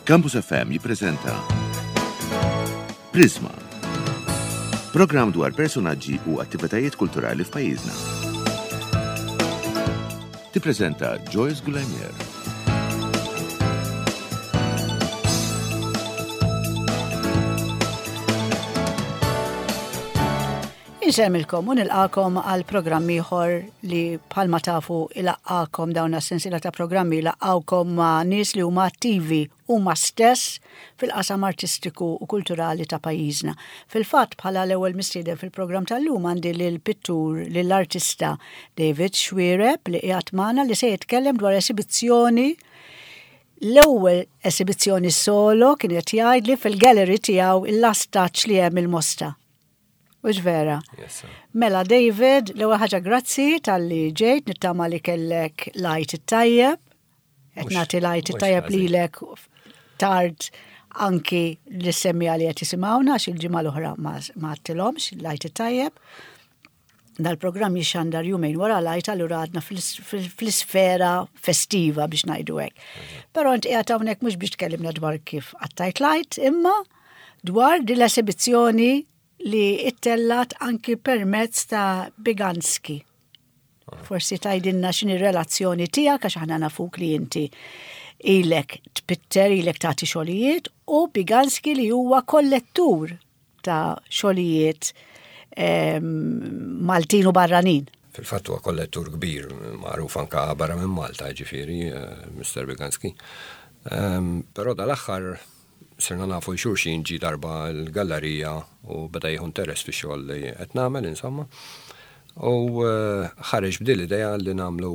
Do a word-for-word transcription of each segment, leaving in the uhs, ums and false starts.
Campus F M jippreżenta Prisma. Programm dwar personaġġi u attivitajiet kulturali f'pajjiżna. Tippreżenta Joyce Gulemier. Insemmilkom u nilqakom għal programm ieħor li bħalma tafu ilaqqakom, dawn sensiela ta' programmi ilaqqawkom ma' nies li huma attivi huma stess fil-qasam artistiku u kulturali ta' pajjiżna. Fil-fatt, bħala l-ewwel mistieden fil-programm tal-lum għandi lil pittur, lill-artista David Xuereb li qiegħed magħna, li se jitkellem dwar esibizzjoni, l-ewwel esibizzjoni solo kien qed jgħidli fil-gallery tiegħu, il-Last Touch li hemm il-Mosta. Hux vera? Yes, sir. Mela David, l-ewwel ħaġa, grazzi talli ġejt, nittama li kellek l-Għid it-tajjeb. Qed Mhux- nagħti l-Għid mhux it-tajjeb ħażin. lilek tard, anki li semmi li qed jisimgħuna, għax il-ġimgħa l-oħra ma ma għedtilhomx l-Għid it-tajjeb. Dal-programm jixxandar jumejn wara l-Għid, allura għadna fl- fl- fl-isfera festiva, biex ngħidu hekk. Però int qiegħed hawnhekk mhux biex tkellimna dwar kif qattajt l-Għid, imma dwar din l-esibizzjoni li ittellat anki permezz ta' Biganski. Forsi tgħidilna x'inhi relazzjoni tiegħek, għax aħna nafuk li inti ilek tpitter, ilek tagħti xogħlijiet, u Biganski li huwa kollettur ta' xogħlijiet em, Maltin u barranin. Fil-fatt huwa kollettur kbir, magħruf anka barra minn Malta, ġifieri, eh, Mister Biganski. Um, Però dal-aħħar sirna nafu xulxin, ġi darba l-gallerija u beda jieħu interess fi xogħol li qed nagħmel, insomma. U eh, ħareġ b'din l-idea li nagħmlu,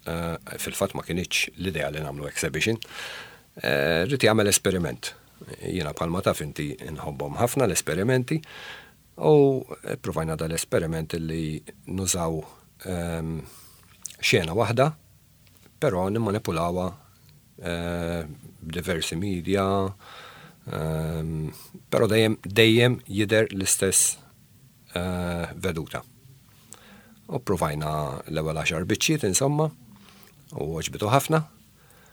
eh, fil-fatt ma kinitx l-idea li nagħmlu exhibition. Eh, Ried jagħmel esperiment. Jiena, bħalma taf inti, nħobbhom ħafna l-esperimenti u provajna dal-esperiment li nużaw ehm, xena waħda, però nimmanipulawha eh, b'diversi media, ehm, però dejjem dejjem jidher l-istess eh, veduta. U provajna l-ewwel għaxar biċċiet, insomma, u għoġbitu ħafna.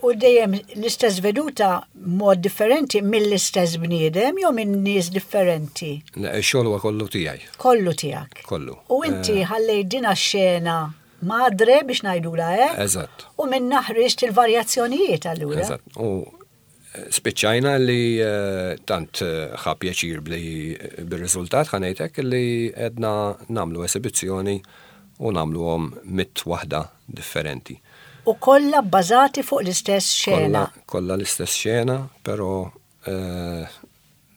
U dejjem l-istess veduta mod differenti mill-istess bniedem jew minn nies differenti? Le, ix-xogħol huwa kollu tiegħi. Kollu tiegħek. Kollu. U inti ħallejt din xena madre, biex ngħidula hekk. Eżatt. U minn ħriġt il-varjazzjonijiet allura. Eżatt. U eh, spiċċajna li eh, tant eh, ħa pjaċir bli bir-riżultat, ħa ngħidlek, li għedna nagħmlu esibizzjoni u nagħmluhom mitt waħda differenti. U kollha bbażati fuq l-istess xena. Kollha kollha l-istess xena, però eh,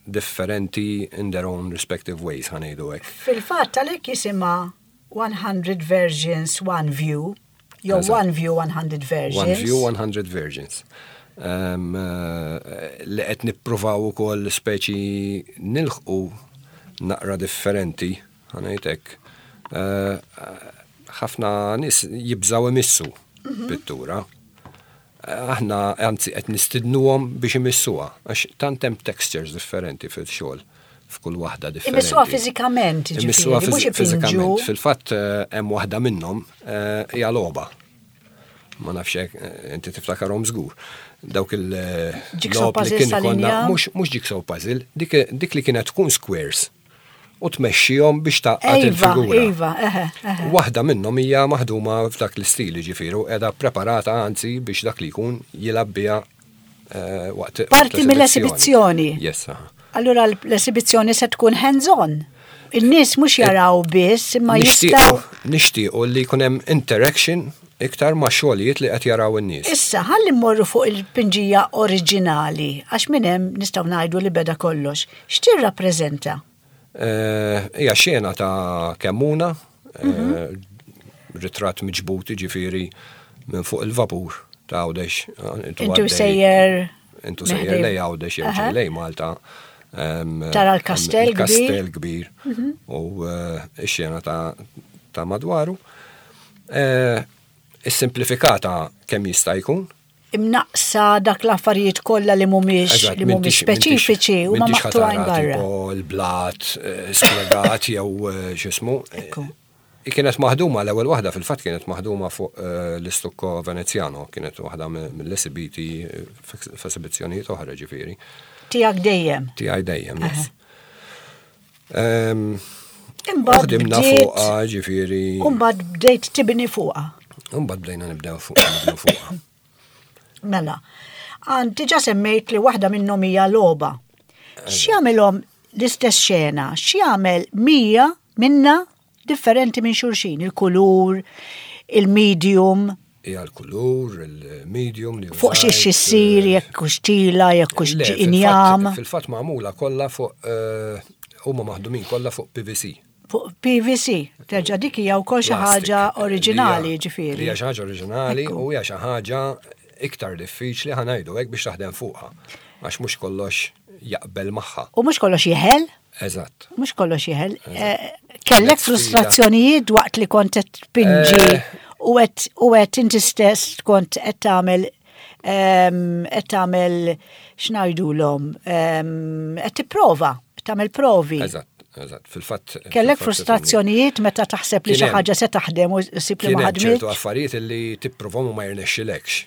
differenti in their own respective ways, ħa ngħidu hekk. Fil-fatt għalhekk jisimha one hundred Versions, One View, jew Eżatt. One View, one hundred Versions. One View, one hundred Versions. Um, eh, li qed nippruvaw ukoll speċi nilħqu naqra differenti, ħa ngħidlek. Eh, Ħafna nies jibżaw imissu pittura. Eh, Aħna anzi qed nistidnuhom biex imissuha, għax tant hemm textures differenti fil-xogħol f'kull waħda differenti. Imissuha fiżikament, Imissuha ġifieri, mhux fizi- ipinġu. fiżikament. Fil-fatt eh, hemm waħda minnhom eh, hija logħba. Ma nafx hekk, eh, inti tiftakarhom żgur. Dawk il eh, Jigsaw logħob li puzzles kien ikollna, tal-injam? mhux mhux jigsaw puzzle, dik dik li kienet tkun squares u tmexxihom biex tgħaqqad Iva, il-figura. Iva, eħe, eħe. Waħda minnhom hija maħduma f'dak l-istil, ġifieri qiegħda preparata anzi biex dak li jkun jilgħab biha eh, waqt waqt Parti mill-esibizzjoni. Yes, aha. Allura l-esibizzjoni se tkun hands-on. Il-nies mhux jaraw biss, imma jistgħu. Nixtiequ nixtiequ li jkun hemm interaction iktar ma' xogħlijiet li qed jaraw in-nies. Issa, ħalli mmorru fuq il-pinġija oriġinali, għax minn hemm nistgħu ngħidu li beda kollox. X'tirrappreżenta? Eh, Hija xena ta' Kemmuna, eh, ritratt miġbut ġifieri minn fuq il-vapur ta' Għawdex. Eh, Intu għaddej- sejjer Intu sejjer meħdej. lej Għawdex jew Aha. ġej lej Malta. Em, Tara l-kastell. Il-kastell kbir u eh, ix-xena ta' ta' madwaru. Eh, Is-simplifikata kemm jista' jkun. Imnaqsa dak l-affarijiet kollha li mhumiex Eżatt, li mhumiex m'intix- m'intix- speċifiċi u ma m'intix maqtugħin ħa tara barra. Tipo l-blat, eh, spjegat jew eh, x'ismu. Ekku. Kienet maħduma, l-ewwel waħda fil-fatt kienet maħduma fuq eh, l-istukko Venezjano, kienet waħda mill-esibiti eh, f'esibizzjonijiet oħra ġifieri. Tiegħek dejjem. Tiegħi dejjem, yes. Imbagħad Ħdimna bdiet- fuqha ġifieri. Imbagħad bdejt tibni fuqha. Imbagħad bdejna nibdew fuq nibdew fuqha. Mela, għand diġà semmejt li waħda minnhom hija logħba. X'jagħmilhom l-istess xena? X'jagħmel mija minna differenti minn xulxin? Il-kulur, il-medium, Hija l-kulur, il-medium li fuq xi użajt, issir, eh, jekk hux tila, jekk hux Le, fil-fatt- injam, Fil-fatt magħmula kollha fuq eh, huma maħdumin kollha fuq P V C. Fuq P V C. Terġa' dik hija wkoll xi Plastic, ħaġa li oriġinali hija- ġifieri. Li hija xi ħaġa oriġinali Ekku. u hija xi ħaġa iktar diffiċli, ħa ngħidu hekk, biex taħdem fuqha. Għax mhux kollox jaqbel magħha. U mhux kollox jeħel, Eżatt. Mhux kollox jeħel. Eh, Kellek Kienet sfida. frustrazzjonijiet waqt li kont qed tpinġi Eh. u qed u qed inti stess kont qed tagħmel ehm, qed tagħmel, x'ngħidulhom, ehm, qed tipprova, tagħmel provi. Eżatt, eżatt. Fil-fatt. Kellek fil-fatt frustrazzjonijiet meta taħseb li Kien xi hemm. ħaġa se taħdem u ssib li Kien ma hemm ċertu ħadmitx? affarijiet li tipprovhom u ma jirnexxilekx.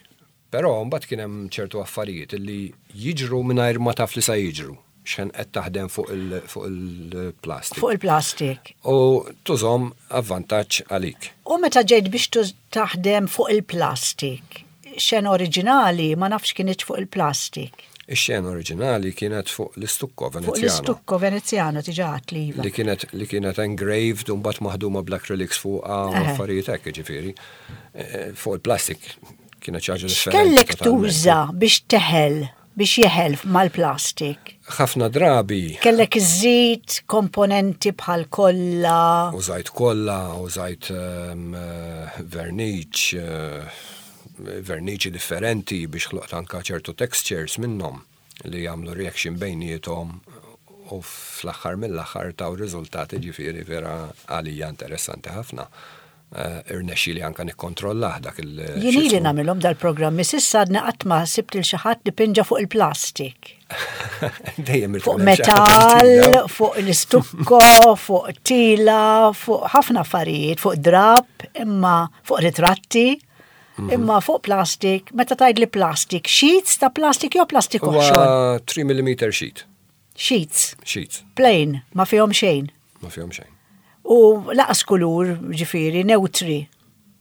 Però mbagħad kien hemm ċertu affarijiet li jiġru mingħajr ma taf li sa jiġru. X'ħin qed taħdem fuq il- fuq il-plastik. Fuq il-plastik. U tużahom avvantaġġ għalik. U meta ġejt biex tuż- taħdem fuq il-plastik, xena oriġinali ma nafx kienet fuq il-plastik. Ix-xena oriġinali kienet fuq l-istukko Fuq Venezjano. l-istukko Venezjano diġà għedt li iva. Li kienet li kienet engraved u mbagħad maħduma bl-acrylics fuqha u Eħe. affarijiet hekk ġifieri. Eh, Fuq il-plastik kienet xi ħaġa differenti X'kellek totalment. tuża biex teħel, biex jeħel mal-plastik? Ħafna drabi Kellek iżid komponenti bħal kolla? Użajt kolla, użajt um, verniċ, eh, verniċi differenti biex ħloqt anka ċertu textures minnhom li jagħmlu reaction bejniethom u fl-aħħar mill-aħħar taw riżultati ġifieri vera għalija interessanti ħafna. Uh, Irnexxi li anka nikkontrollah dak il- Jien ili x'ismu. nagħmilhom dal-programmi, s'issa għadna qatt ma sibt lil xi ħadd li pinġa fuq il-plastik. Dejjem Fuq ikun hemm xi ħaġa metal, ġdida. Fuq l-istukko, fuq tila, fuq ħafna affarijiet, fuq drap, imma fuq ritratti, Mhm. imma fuq plastik. Meta tgħid li plastik, sheets ta' plastik jew plastik oħxon? Huwa tlieta millimetri sheet. Sheets, Sheets, plain, ma fihom xejn. Ma fihom xejn. U lanqas kulur, ġifieri, neutri.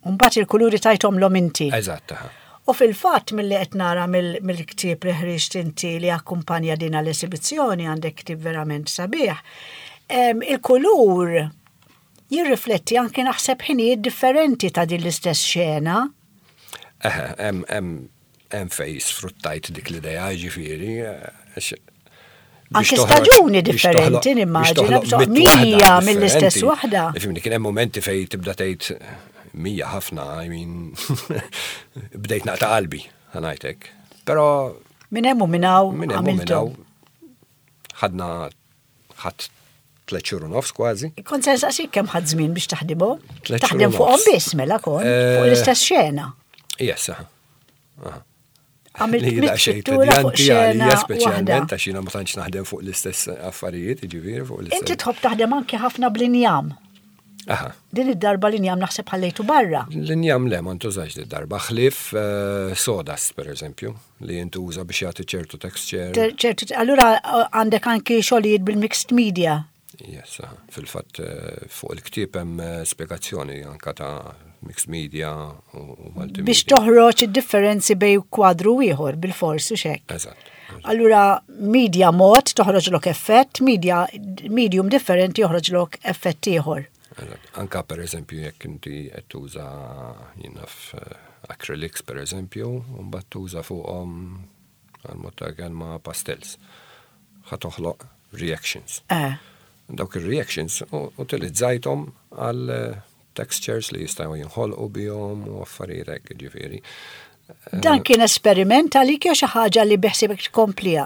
Mbagħad il-kuluri tajthomlhom inti. Eżatt, aha. U fil-fatt mill-li qed nara mill- mill-ktieb li ħriġt inti li akkumpanja din l-esibizzjoni, għandek ktieb verament sabiħ. Em, Il-kulur jirrifletti anke naħseb ħinijiet differenti ta' din l-istess xena. Eħe, hemm hemm hemm fej sfruttajt dik l-idea ġifieri. eh, għax- biex Anke toħroġ- staġuni biex differenti, toħloq- nimmaġina, biex toħloq biex mitt mija waħda mill-istess differenti. waħda. Ifhimni, kien hemm momenti fej tibda tgħid mija ħafna, I mean, bdejt naqta' qalbi, ħa ngħidlek. Però Minn hemm u minn hawn minn hemm u minn għamiltu. hawn ħadna ħadd tliet xhur u nofs kważi. Kont se nsaqsik kemm ħadd żmien biex taħdimhom. Tliet xhur Taħdem u fuqhom nofs. biss mela kont, fuq Eh, l-istess xena. Yes, aha. Aha. Għamilt Li mitt daqsxejn pittura fuq tedjanti xena għalija waħda. speċjalment għax jiena ma tantx naħdem fuq l-istess affarijiet, jiġifieri fuq l-istess. Inti tħobb taħdem anke ħafna bl-injam. Aha. Din id-darba l-injam naħseb ħallejtu barra. L-injam le, ma ntużax di darba, ħlief eh, sawdust, per eżempju, li jintuża biex jagħti ċertu texture. Ter- ċertu, allura għandek anki xogħlijiet bil-mixed media. Yes, aha. Fil-fatt eh, fuq il-ktieb hemm eh, spjegazzjoni anka ta' mixed media u u multimedia. Biex toħroġ id-differenzi bej kwadru ieħor bil-fors u xek. Eżatt. Allura media mod toħroġlok effett, media medium differenti joħroġlok effett ieħor. Eżatt. Anka per eżempju jekk inti qed tuża jien naf eh, acrylics per eżempju, u mbagħad tuża fuqhom għal mod ta' kelma pastels. Ħa toħloq reactions. Eh. Dawk ir-reactions u- utilizzajthom għal eh, textures li jistgħu jinħolqu bihom u affarijiet hekk ġifieri. Dan kien esperiment għalik jew xi ħaġa li beħsibek tkompliha?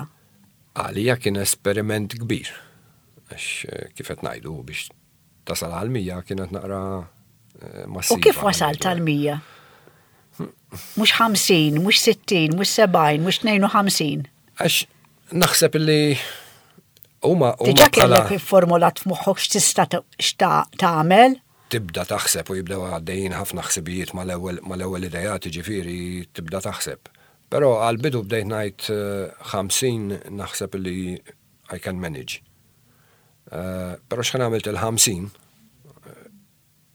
Għalija kien esperiment kbir. Għax eh, kif qed ngħidu, biex tasal għal mija kienet naqra eh, U massiva. kif wasalt għal mija? Mhux ħamsin, mhux sittin, mhux sebgħin, mhux tnejn u ħamsin. Għax naħseb li huma huma Diġà bħala kellek formulat f'moħħok x'tista' x'ta' tagħmel. Tibda taħseb u jibdew għaddejjin ħafna ħsibijiet mal-ewwel mal-ewwel idejat, ġifieri tibda taħseb. Però għal-bidu bdejt ngħid eh, ħamsin naħseb li I can manage. Eh, Però x'ħin għamilt il-ħamsin,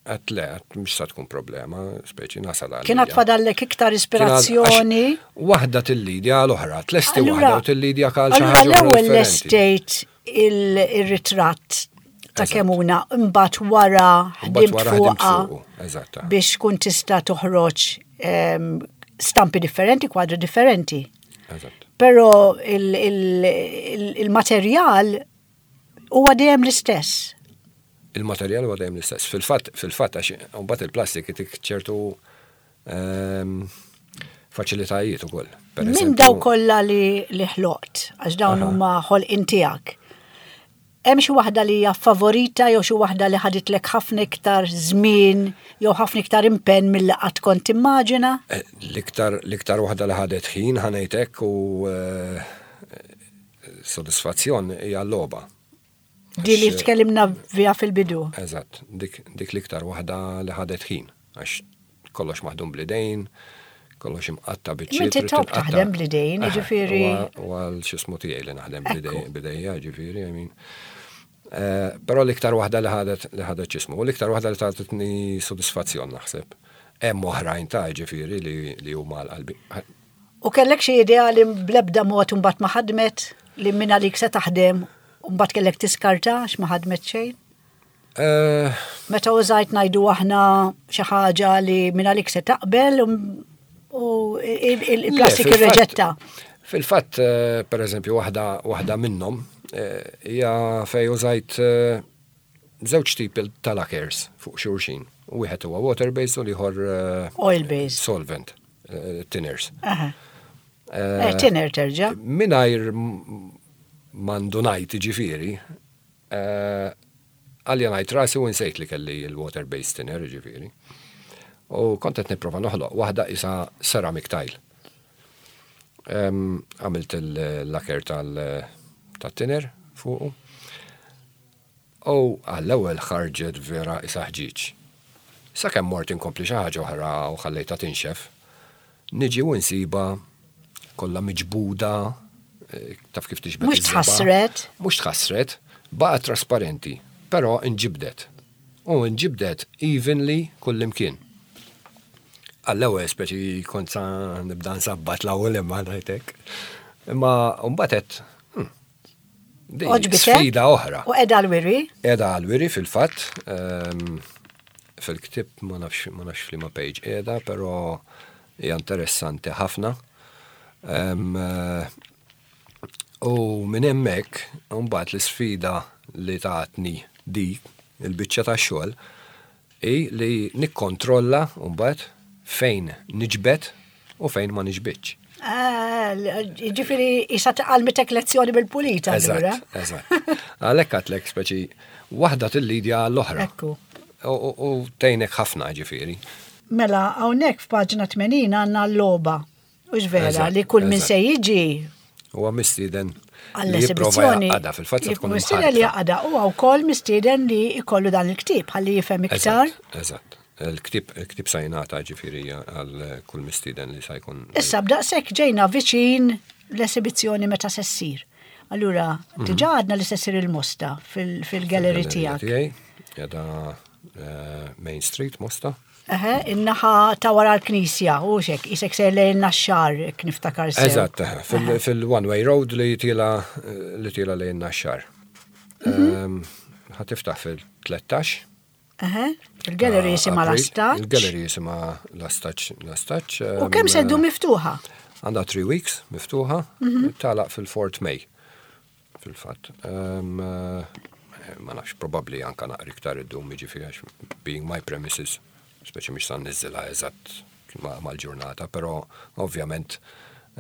għedt le, għedt mhux sa tkun problema, speċi nasal għal. Kien fadallek iktar ispirazzjoni. Waħda tillidja għal oħra, tlesti Allura- waħda u tillidja għal xi Allura ħaġa oħra l-ewwel differenti. lestejt il-ritratt ta' Eżatt. Kemuna, imbagħad wara Mbagħad ħdimt wara ħdimt fuqha fuqu, eżatt. biex kun tista' toħroġ em, stampi differenti, kwadri differenti. Eżatt. Però il- il- il- il-materjal huwa dejjem l-istess. Il-materjal huwa dejjem l-istess. Fil-fatt, fil-fatt għax mbagħad il-plastik itik ċertu ehm, faċilitajiet ukoll. Per Minn eżempju- daw kollha li, li ħloqt, għax dawn Aha. huma ħolqien tiegħek. Hemm xi waħda li hija favorita jew xi waħda li ħaditlek ħafna iktar żmien jew ħafna iktar impenn milli qatt kont timmaġina? Eh, L-iktar l-iktar waħda li ħadet ħin ħa ngħidlek u eh, sodisfazzjon hija l-logħba. Di li Għax, tkellimna vija fil-bidu. Eżatt, dik, dik l-iktar waħda li ħadet ħin, għax kollox maħdum bl-idejn, kollox imqatta biċċiet. Inti trid top tinqatta. taħdem bl-idejn, Eh, jiġifieri- U għal x'ismu tiegħi li naħdem Ekku. bl-idejn, b'idejja, ġifieri, I mean. Eh, Però l-iktar waħda li ħadet li ħadet x'ismu, u l-iktar waħda li tatni sodisfazzjon naħseb. Hemm oħrajn ta' ġifieri li li huma l-qalbi. U kellek xi idea li blebda mod imbagħad ma ħadmet li minn għalik se taħdem u mbagħad kellek tiskarta għax ma ħadmet xejn? Eh, Meta użajt ngħidu aħna xi ħaġa li minn għalik se taqbel u- u il- il- il-plastik Le, fil-fatt- irreġetta. Fil-fatt, eh, per eżempju, waħda waħda minnhom eh, hija fej użajt eh, żewġ tipi ta' lacquers fuq xulxin. Wieħed huwa water-based u l-ieħor eh, Oil based. solvent, eh, thinners. Aha. Eh, Eh, Thinner terġa'. Mingħajr ma ndunajt ġifieri, eh, għalja ngħid rasi u nsejt li kelli il-water-based thinner ġifieri. U kont qed nipprova noħloq waħda isa ceramic tile. Em, Għamilt il-lacquer tal-thinner fuqu. U għall-ewwel ħarġet vera isa ħġiġ. Sakemm mort inkompli xi ħaġa oħra u ħallejta tinxef, niġi u nsiba kollha miġbuda, eh, taf kif tiġbed Mhux iż-żebgħa. tħassret. Mhux tħassret, baqgħet trasparenti, però inġibdet. U inġibdet evenly kullimkien. Għall-ewwel speċi kont sa nibda nsabbat l-ewwel imma ngħidlek. Imma mbagħad għedt, hmm, di Għoġbitek? sfida oħra. U qiegħda għall-wiri? Qiegħda għall-wiri fil-fatt, ehm, fil-ktib ma nafx ma nafx f'liema page qiegħda, però hija interessanti ħafna. Ehm, eh, U minn hemmhekk mbagħad l-isfida li tatni dik il-biċċa tax-xogħol hi li nikkontrolla mbagħad fejn niġbed u fejn ma niġbidx. Ah, Ġifieri, isa għallmitek lezzjoni bil-pulita. allura. Eżatt, eżatt. Għalhekk għedtlek speċi waħda tillidja l-oħra. Ekku. U- U u tgħinek ħafna ġifieri. Mela, hawnhekk f'paġna tmenin għandna l-logħba. U vera Eżatt, li kull min eżatt. se jiġi Huwa mistieden li jipprova għall-esibizzjoni. jgħaqqadha fil-fatt se tkun Mistieden li imħarrka. jgħaqqadha u wkoll mistieden li jkollu dan il-ktieb ħalli jifhem iktar. Eżatt, eżatt. Il-ktib il-ktib sa jingħata ġifieri għal kull mistieden li sa jkun. Issa b'daqshekk ġejna viċin l-esibizzjoni meta se ssir. Allura, Mhm. diġà għadna li se ssir il-Mosta fil- fil-gallery tiegħek. Tiegħi, qiegħda eh, Main Street, Mosta. Eħe, in-naħa ta' wara l-knisja, u xek, isek ser lejn Naxxar, jekk niftakar sew. Eżatt, eħe, fil- fil-one way road li tiela' li tiela' lejn Naxxar. Mhm. Ħa tiftaħ fil-tlettax. Eħe, il-gallery jisimha April. L-Astaċ. Il-gallery jisimha L-Astaċ. L-Astaċ. U kemm se ddum miftuħa? Għandha three weeks miftuħa, Mhm. tagħlaq fil-fourth May. Fil-fatt. Em, eh, Ma nafx, probabli anka naqra iktar iddum jiġifieri għax being my premises, speċi mhix sa nniżżilha eżatt ma- mal-ġurnata, però ovvjament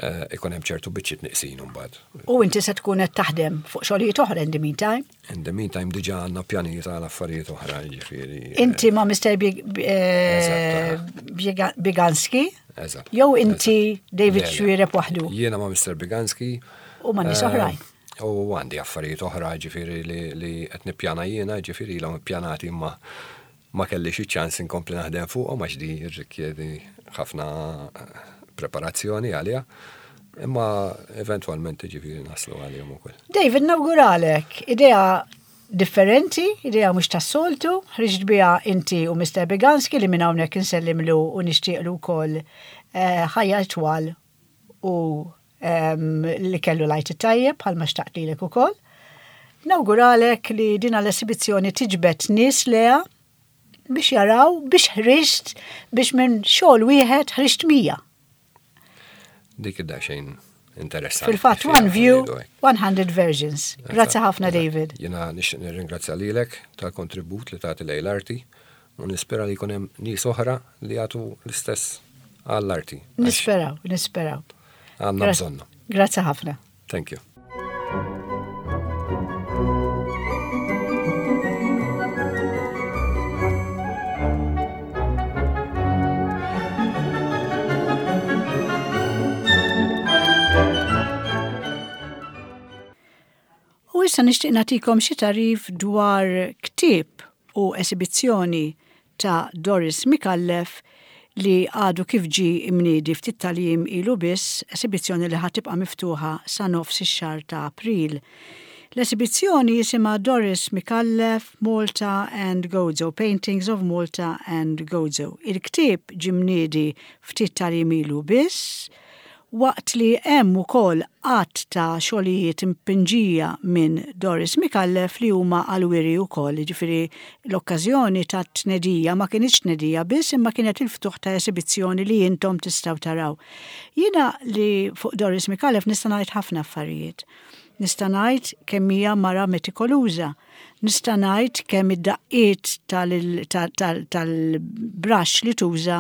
eh, ikun hemm ċertu biċċiet neqsin imbagħad. U inti se tkun qed taħdem fuq xogħlijiet oħra in the meantime. In the meantime diġà għandna pjanijiet għal affarijiet oħra, ġifieri. eh, Inti ma' Mister Big- eh, Eżatt, Biega- Biganski? Eżatt. Jew inti eżatt. David Le, le. Xuereb waħdu? Jiena ma' Mister Biganski. U ma' nies Eh, oħrajn. U għandi affarijiet oħra ġifieri li, li qed nippjana jiena, ġifieri ilhom ippjanati imma Ma kellix iċ-ċans inkompli naħdem fuqhom għax di rrikjedi ħafna preparazzjoni għalija. Imma eventwalment ġifieri naslu għalihom ukoll. David, nawguralek, idea differenti, idea mhux tas-soltu, ħriġt biha inti u Mister Beganski li minn hawnhekk insellimlu u nixtieqlu wkoll eh, ħajja twal u em, li kellu l-Għid it-tajjeb bħalma xtaqt lilek ukoll. Nawguralek li din l-esibizzjoni tiġbed nies lejha biex jaraw biex ħriġt biex minn xogħol wieħed ħriġt mija. Dik id-xejn interessanti. Fil-fatt, one view, one hundred versions. Grazzi ħafna, David. Jiena nixtieq nirringrazzja lilek tal-kontribut li tagħti lejn l-arti u nispera li jkun hemm nies oħra li jagħtu l-istess għall-arti. Nisperaw, nisperaw. Għandna bżonnu. Grazzi ħafna. Thank you. U issa nixtieq nagħtikom xi tagħrif dwar ktieb u esibizzjoni ta' Doris Micallef li għadu kif ġi imniedi ftit tal-jiem ilu biss, esibizzjoni li ħa tibqa' miftuħa sa nofs ix-xahar ta' April. L-esibizzjoni jisimha Doris Micallef, Malta and Gozo, Paintings of Malta and Gozo. Il-ktieb ġie mniedi ftit tal-jiem ilu biss, waqt li hemm ukoll għadd ta' xogħlijiet impinġija minn Doris Micallef li huma għal-wiri ukoll, ġifieri l-okkażjoni ta' tnedija ma kinitx tnedija biss imma kienet il-ftuħ ta' esibizzjoni li intom tistgħu taraw. Jiena li fuq Doris Micallef nista' ngħid ħafna affarijiet. Nista' ngħid kemm hija mara metikoluża. Nista' ngħid kemm id-daqqiet tal-brush li tuża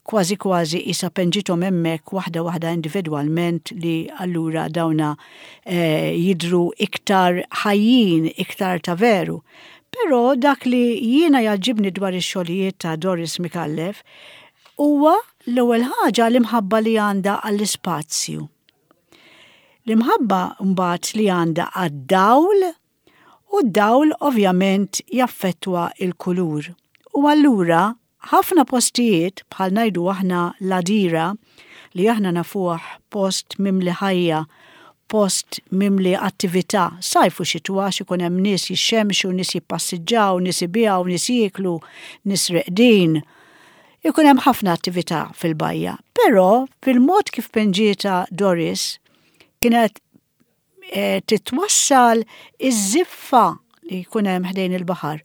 kważi kważi isa penġithom hemmhekk waħda waħda individwalment, li allura dawna eh, jidru iktar ħajjin, iktar ta' veru. Però dak li jiena jogħġobni dwar ix-xogħlijiet ta' Doris Micallef huwa l-ewwel ħaġa l-imħabba li għandha għall-ispazju. L-imħabba mbagħad li għandha għad-dawl, u d-dawl ovvjament jaffettwa il-kulur. U allura ħafna postijiet, bħal ngħidu aħna l-Għadira, li aħna nafuh post mimli ħajja, post mimli attività, sajf u xitwa ikun hemm nies jixxemxu, nies jippassiġġaw, nies ibiegħu, nies jieklu, nies reqdin. Ikun hemm ħafna attività fil-bajja. Però fil-mod kif penġieta Doris kienet eh, titwassal iż-żiffa li jkun hemm ħdejn il-baħar.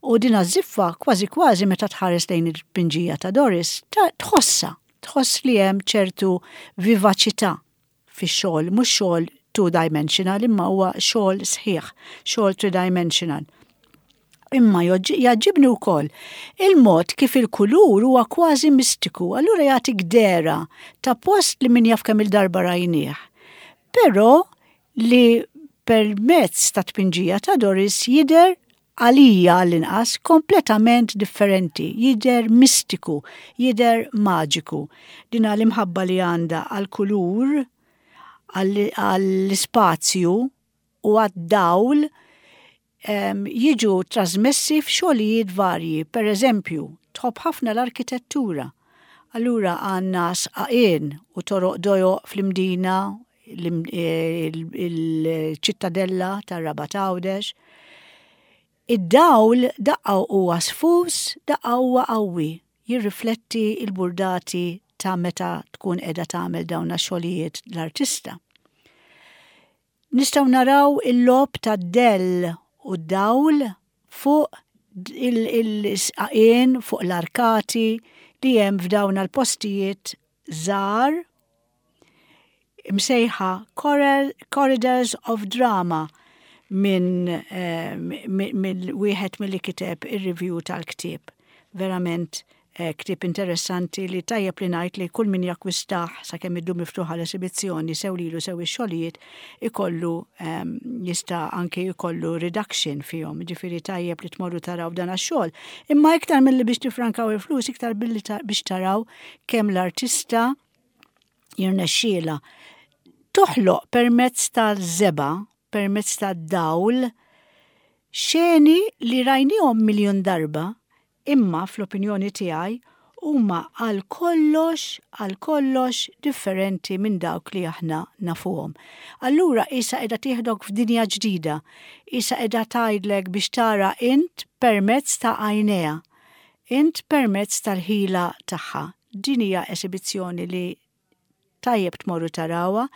U din iż-żiffa kważi kważi meta tħares lejn il-pinġija ta' Doris, tħossa, tħoss li hemm ċertu vivaċità fix-xogħol, mhux xogħol two-dimensional, imma huwa xogħol sħiħ, xogħol three-dimensional. Imma jogħġobni wkoll il-mod kif il-kulur huwa kważi mistiku, allura jagħtik dehra ta' post li min jaf kemm il-darba rajnieh. Però li permezz ta' tpinġija ta' Doris jidher għalija għall-inqas kompletament differenti, jidher mistiku, jidher maġiku. Dina l-imħabba li għandha għal-kulur, għall-ispazju u għad-dawl jiġu trasmessi f'xogħlijiet varji. Per eżempju, tħobb ħafna l-arkitettura. Allura għandna sqaqien u toroq dojoq fl-Imdina, il-ċittadella tar-Rabat Għawdex. Id-dawl daqqa huwa sfus, daqqa huwa qawwi, jirrifletti il-burdati ta' meta tkun qiegħda tagħmel dawn xogħlijiet l-artista. Nistgħu naraw il-logħob ta' dell u dawl fuq il-sqaqien, fuq l-arkati li hemm f'dawn l-postijiet żgħar msejħa Corridors of Drama minn eh, min wieħed mill-li kiteb ir-review tal-ktieb. Verament eh, ktieb interessanti li tajjeb li ngħid li kull min jakkwistah sakemm iddum miftuħa l-esibizzjoni, sew lilu sew ix-xogħlijiet, ikollu um, jista' anke jkollu reduction fihom, ġifieri tajjeb li tmorru taraw dan għax-xogħol. Imma iktar milli biex tifrankaw il-flus, iktar billi biex taraw kemm l-artista jirnexxiela toħloq permezz tal-żebgħa, permezz tad-dawl, xeni li rajnihom miljon darba, Imma fl-opinjoni tiegħi huma għal kollox, għal kollox differenti minn dawk li aħna nafuhom. Allura isa qiegħda tieħdok f'dinja ġdida, isa qiegħda tgħidlek biex tara int permezz ta' għajnejha, int permezz tal-ħila tagħha. Din hija esibizzjoni li tajjeb tmorru tarawha,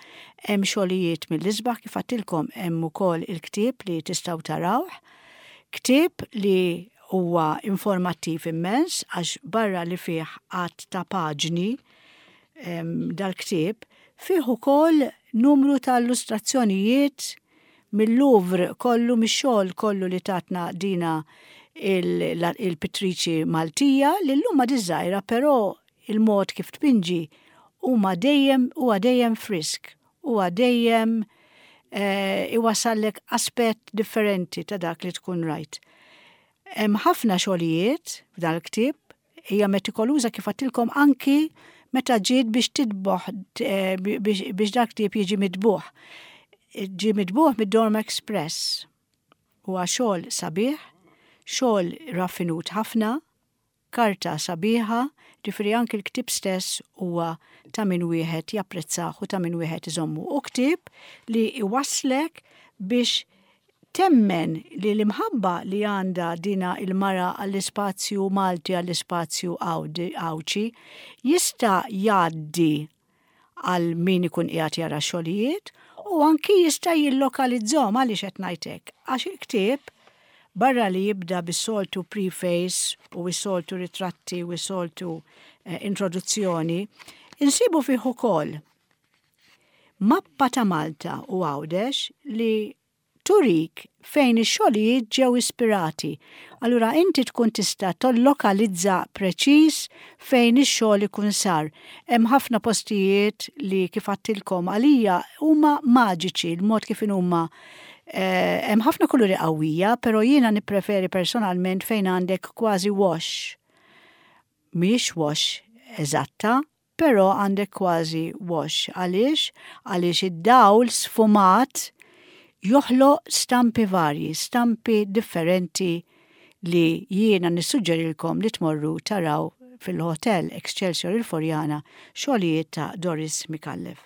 hemm xogħlijiet mill-isbaħ kif għedtilkom hemm ukoll il-ktieb li tistgħu tarawh. Ktieb li huwa informattiv immens għax barra li fih għadd ta' paġni dal-ktieb, fih ukoll numru ta' illustrazzjonijiet mill-Louvre kollu, mix-xogħol kollu li tatna dina il-pittriċi Maltija li llum għadha żgħira, però il-mod kif tpinġi huma dejjem huwa dejjem frisk, huwa dejjem eh, iwasallek aspett differenti ta' dak li tkun rajt. Hemm ħafna xogħlijiet f'dan il-ktieb, hija metikoluża kif għedtilkom anki meta ġiet biex titbugħ eh, biex dak ktieb jiġi mitbugħ. Ġie mitbugħ mid-Dorm Express. Huwa xogħol sabiħ, xogħol raffinut ħafna, karta sabiħa, ġifieri anki l-ktieb stess huwa ta' min wieħed japprezzah u ta' min wieħed iżommu. U ktieb li iwasslek biex temmen li l-imħabba li għandha dina il-mara għall-ispazju Malti, għall-ispazju Għawdxi, jista' jgħaddi għal min ikun qiegħed jara xogħlijiet u anki jista' jillokalizzahom. Għaliex qed ngħidlek? Għax il-ktieb barra li jibda bis-soltu preface u s-soltu ritratti u s-soltu eh, introduzzjoni, insibu fih ukoll mappa ta' Malta u Għawdex li turik fejn ix-xogħlijiet ġew ispirati. Allura inti tkun tista' tollokalizza preċiż fejn ix-xogħol ikun sar. Hemm ħafna postijiet li kif għedtilkom għalija huma maġiċi l-mod kif huma eh, hemm ħafna kuluri qawwija, però jiena nippreferi personalment fejn għandek kważi wash. Mhix wash eżatta, però għandek kważi wash. Għaliex? Għaliex id-dawl sfumat joħloq stampi varji, stampi differenti li jiena nissuġġerilkom li tmorru taraw fil-Hotel Excelsior il-Furjana xogħlijiet ta' Doris Micallef.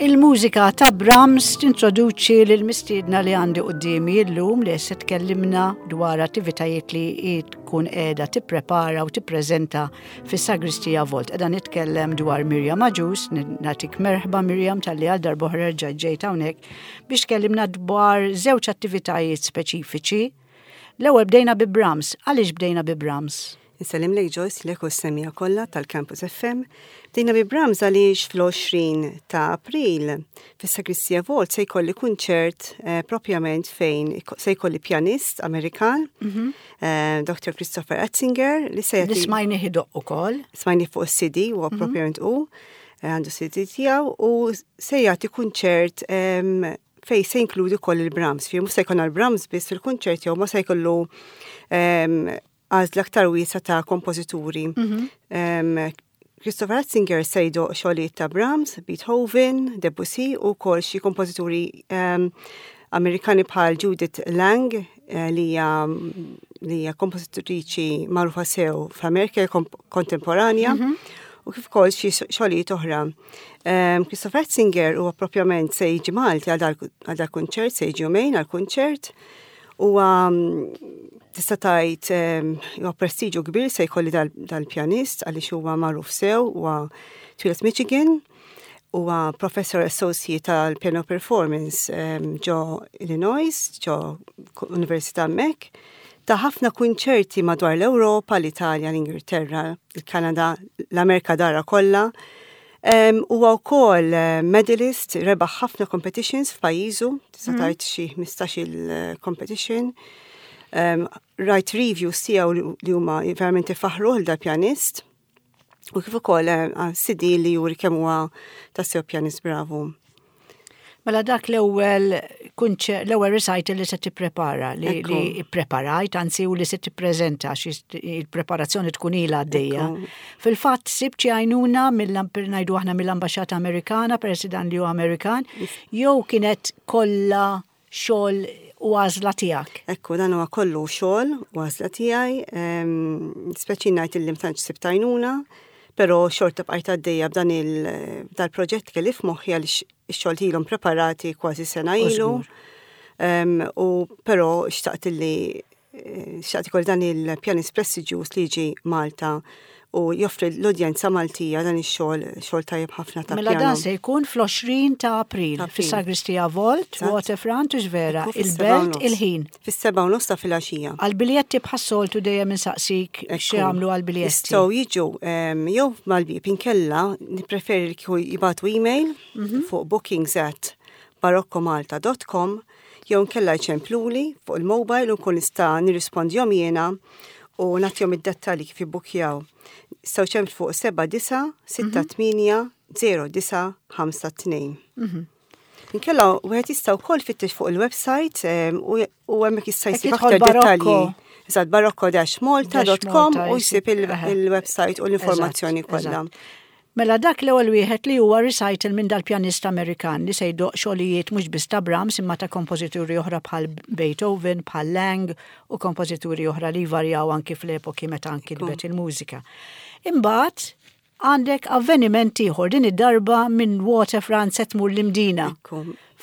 Il-mużika ta' Brahms tintroduċi lil mistiedna li għandi qudiemi llum li se tkellimna dwar attivitajiet li tkun qiegħda tipprepara u tippreżenta fis-Sagristija Vault. Qiegħda nitkellem dwar Miriam Agius, nagħtik merħba Miriam talli għal darb'oħra ġejt hawnhekk biex tkellimna dwar żewġ attivitajiet speċifiċi. L-ewwel bdejna bi Brahms. Għaliex bdejna bi Brahms? Insellimlek Joyce, lilek u s-semmiegħa kollha tal-Campus F M. Bdejna bi Brahms għaliex fl-għoxrin ta' April fis-Sagristija Vault se jkolli kunċert eh, propjament fejn se jkolli pjanist Amerikan, mm -hmm. eh, Doctor Christopher Atzinger, li se jagħti. Smajnieh idoqq ukoll. Smajnieh fuq is-C D u mm -hmm. propjament u eh, għandu C D tiegħu u se jagħti kunċert fej se jinkludi koll il-Brahms. Fi mhux se jkun għal-Brahms biss fil-kunċert jew ma se jkollu għażla aktar wiesgħa ta' kompożituri. Mm -hmm. Christopher Atzinger se jdoqq xogħlijiet ta' Brahms, Beethoven, Debussy u kol xi kompożituri um, Amerikani bħal Judith Lang eh, li hija li hija kompożitriċi magħrufa sew fl-Amerika kontemporanja. Mm -hmm. U kif ukoll xi xogħlijiet oħra. Um, Christopher Atzinger huwa propjament se jiġi Malti għal dal-kunċert, se jiġi jumejn għal-kunċert. U tista' tgħid huwa prestiġu kbir se jkolli dal-pjanist għaliex huwa magħruf sew, huwa twieled Michigan, huwa professor associate tal-piano performance ġo Illinois, ġo Università hemmhekk. Ta ħafna kunċerti madwar l-Ewropa, l-Italja, l-Ingilterra, il-Kanada, l-Amerika dara kollha. Huwa wkoll eh, medalist, rebaħ ħafna competitions f'pajjiżu, tista' mm. tgħid xi ħmistax-il eh, competition. Um, rajt reviews tiegħu li huma verament ifaħru lil dal-pjanist. U kif ukoll eh, C D li juri kemm huwa tassew pjanist bravu. Mela dak l-ewwel l-ewwel recital li se tipprepara, li, li preparajt, anzi u li se tippreżenta għax il-preparazzjoni tkun ilha għaddejja. Fil-fatt sibt xi għajnuna mill ngħidu aħna mill-Ambaxxata Amerikana, peress dan li hu Amerikan, jew kienet kollha xogħol u għażla tiegħek? Ekku, dan huwa kollu xogħol u għażla tiegħi, speċi ngħid illi ma tantx sibt għajnuna, però xorta bqajt għaddejja b'dan il-proġett kelli f'moħħi għaliex ix-xogħol ilhom preparati kważi sena ilu. U però xtaqt li eh, xtaqt ikolli dan il-pjanist prestiġjuż li jiġi Malta u joffri l-udjenza Maltija dan ix-xogħol, xogħol tajjeb ħafna ta' Mela dan se jkun fl-għoxrin ta' April fis-Sagristija Vault, Waterfront, u vera, il-Belt, il-ħin. Fis-sebgħa u nofs ta' filgħaxija. Għal-biljetti bħas-soltu dejjem insaqsik x'jagħmlu għal-biljetti. Jistgħu jiġu jew mal-bieb, inkella nippreferi li kieku jibagħtu email mhm. fuq bookings at baroccomalta dot com jew nkella jċempluli fuq il-mobile u nkun nista' nirrispondihom jiena u nagħtihom id-dettalji kif jibbukjaw. Jistgħu jċemplu fuq seba' disa' sitta tmienja zero disa' ħamsa tnejn. Inkella wieħed jista' wkoll fittex fuq il-website u hemmhekk jista' jsib aktar dettalji. Eżatt, barocco dash malta dot com u jsib il-website u l-informazzjoni kollha. Mela dak l-ewwel wieħed li huwa recital minn dal-pjanista Amerikan li se jdoq xogħlijiet mhux biss ta' Brahms imma ta' kompożituri oħra bħal Beethoven, bħal Lang u kompożituri oħra li varjaw anki fl-epoki meta anki nkitbet il-mużika. Imbagħad għandek avveniment ieħor, din id-darba minn Waterfront se tmur l-Imdina.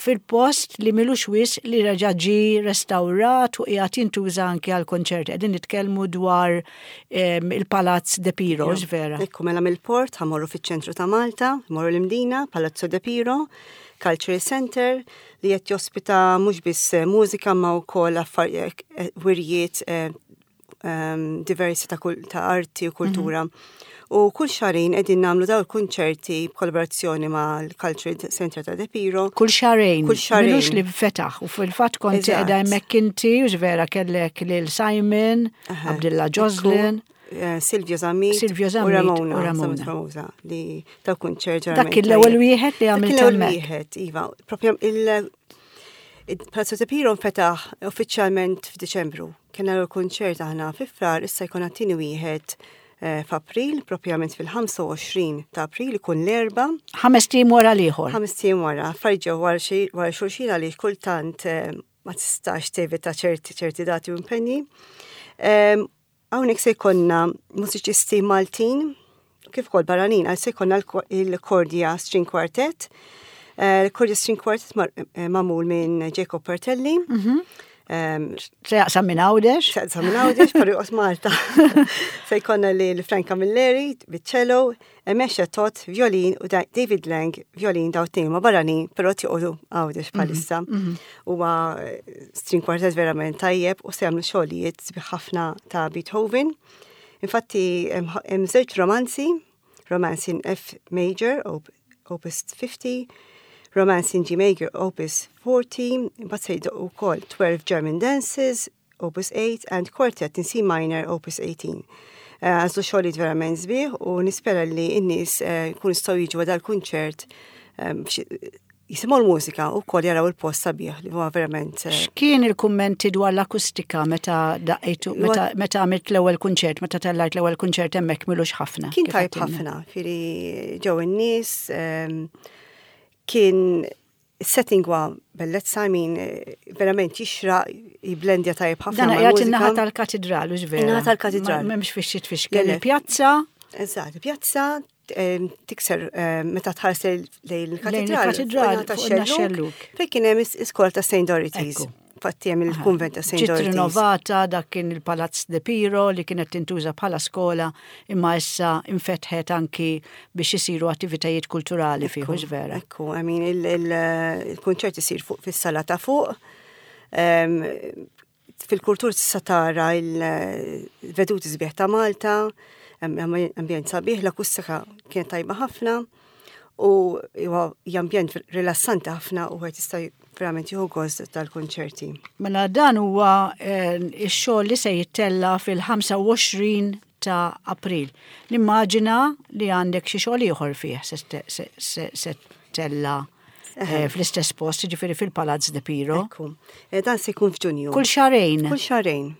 Fil-post li m'ilux wisq li reġa' ġie restawrat u qiegħed jintuża anki għal konċerti. Qegħdin nitkellmu dwar il-Palazz De Piro, vera. Ekku, mela mill-port ħa mmorru fiċ-ċentru ta' Malta, morru l-Imdina, Palazzo De Piro, Cultural Center, li qed jospita mhux biss mużika ma wkoll affarijiet, wirjiet diversi ta' arti u kultura. Mm -hmm. U kull xahrejn qegħdin nagħmlu daw il-kunċerti b'kollaborazzjoni mal-Cultural Center ta' De Piro. Kull xahrejn. Kull xahrejn. M'ilux li fetaħ u fil-fatt kont qiegħda hemmhekk inti u vera kellek lil Simon, Abdullah Joslin. Eh, Silvio Zammit. Silvio Zammit. U Ramona. U Ramona. Famuża li ta' kunċert. Dak l-ewwel wieħed li għamilt. L-ewwel wieħed, iva. Propja il- Palazzo De Piro nfetaħ uffiċjalment f'Diċembru. Kena l-kunċert aħna fi Frar, issa jkun għat-tieni wieħed Eh, f'April, propjament fil-ħamsa u għoxrin ta' April, ikun l-Erbgħa. Ħamest ijiem wara l-ieħor. Ħamest ijiem wara, affarijiet wara xulxin għaliex kultant eh, ma tistax tevita ċerti ċerti dati u impenji. Hawnhekk se jkollna mużiċisti Maltin, kif ukoll barranin, għal se jkollna il-Cordia String Quartet. Eh, Il-Cordia String Quartet magħmul minn Jacob Portelli. Mm -hmm. Se jaqsam minn Għawdex? Se jaqsam minn Għawdex, però joqgħod Malta. Se jkollna li Franka Milleri, biċ-cello, Emesha Tot, violin, u David Lang, violin, daw t ma barranin, però joqogħdu Għawdex mhm, bħalissa. Mhm. Huwa eh, string quartet verament tajjeb u se jagħmlu xogħlijiet sbieħ ħafna ta' Beethoven. Infatti hemm żewġ romanzi, Romance in F major, opus fifty, Romance in G major, opus forty, imbagħad se jdoqq ukoll twelve German Dances, opus eight, and Quartet in C minor, opus eighteen. Eh, għażlu xogħlijiet verament sbieħ u nispera li n-nies eh, jkunu jistgħu jiġu dal-kunċert eh, jisimgħu l-mużika u wkoll jaraw il-post sabiħ li huwa verament. X'kien il-kummenti dwar l-akustika meta daqqejtu, meta għamilt l-ewwel kunċert, meta tellajt l-ewwel kunċert hemmhekk m'ilux ħafna? Kien tajb ħafna, firri ġew in-nies, kien setting huwa bellezza, min verament jixraq, jiblendja tajjeb ħafna. Dan qiegħed in-naħa tal-katedral, u vera. In-naħa tal-katedral. M'hemmx fix tfixkel il-pjazza. Eżatt, pjazza tikser meta tħares lejn il-katedral. Il-katedral tax-xellug. Fejn kien hemm iskola ta' Saint Dorothy's. Fatti hemm il-kunvent ta' Saint Ġiet rinnovata, dak kien il-Palazz De Piro li kienet tintuża bħala skola imma issa infetħet anki biex isiru attivitajiet kulturali fih, vera. Ekku, I mean, il-kunċert isir fuq fis-sala ta' fuq. Fil-kuritur tista' tara il-veduti sbieħ ta' Malta, ambjent sabiħ, l-akustika kienet tajba ħafna u huwa ambjent rilassanti ħafna u għet jista' verament jieħu gost tal-konċerti. Mela dan huwa eh, ix-xogħol li se jittella fil-ħamsa u għoxrin ta' April. Nimmaġina li għandek xi xogħol ieħor fih se se ttella'. eh, fl-istess post, ġifieri fil-Palazz de Piro. Ekku. Eh, Dan se jkun f'Ġunju. Kull xahrejn. Kull xahrejn.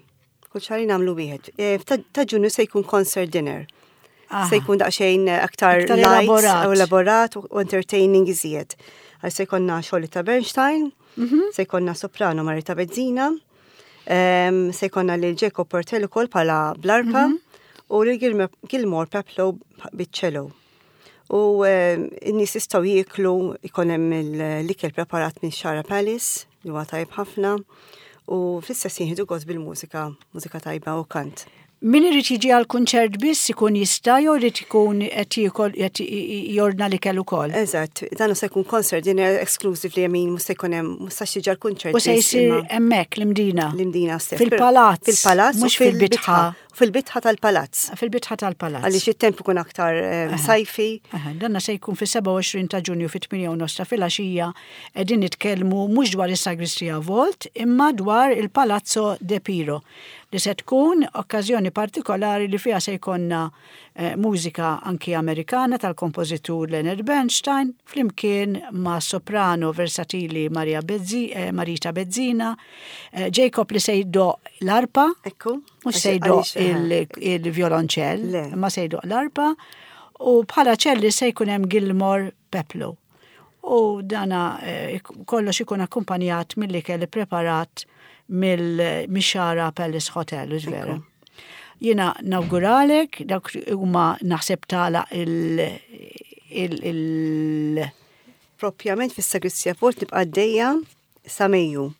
Kull xahrejn nagħmlu wieħed. Eh, Ta ta' Ġunju se jkun concert dinner. Aha. Se jkun daqsxejn eh, aktar Aktar light, elaborat. u elaborat u entertaining iżjed. Għal se jkollna xogħol ta' Bernstein, Mhm. se jkollna soprano Marita Bezzina, em, se jkollna lil Jacob Portello ukoll bħala bl-arpa Mhm. u lil Gilmer- Gilmore Peplow biċ-cello. U em, n-nies jistgħu jieklu ikun hemm l-ikel preparat minn Xara Palace, li huwa tajb ħafna, u fl-istess jieħdu gost bil-mużika, mużika tajba u kant. Min irid jiġi għal kunċert biss ikun jista' jew irid ikun qed jiekol qed jordna l-ikel ukoll. Eżatt, dan se jkun concert dinner exclusively, I mean, mhux se jkun hemm, mhux se jiġi għall-kunċert U se biss, jsir imma hemmhekk l-Imdina. l-Imdina stess. Fil-palazz. Fil-palazz u Mhux fil-bitħa. Fil-bitħa tal-palazz. Fil-bitħa tal-palazz. Għaliex it-temp ikun aktar eh, sajfi. Aha, Danna se jkun fis-sebgħa u għoxrin ta' Ġunju fit-tmienja u nofs ta' filgħaxija qegħdin nitkellmu mhux dwar is-Sagristija Vault imma dwar il-Palazzo de Piro li se tkun okkażjoni partikolari li fiha se jkollna eh, mużika anki Amerikana tal-kompożitur Leonard Bernstein flimkien ma' soprano versatili Maria Bezzi, eh, Marita Bezzina, eh, Jacob li se jdoqq l-arpa, Ekku. mhux se jdoqq Għaliex, eh, il- il-violonċell, Le. imma se jdoqq l-arpa, u bħala ċelli se jkun hemm Gilmore Peplow. U dana eh, kollox ikun akkumpanjat mill-ikel preparat mill-Mixara Palace Hotel, hux vera. Jiena nawguralek, dak huma naħseb tala il- il- il- Propjament fis-Sagristija Vault nibqa' għaddejja sa Mejju.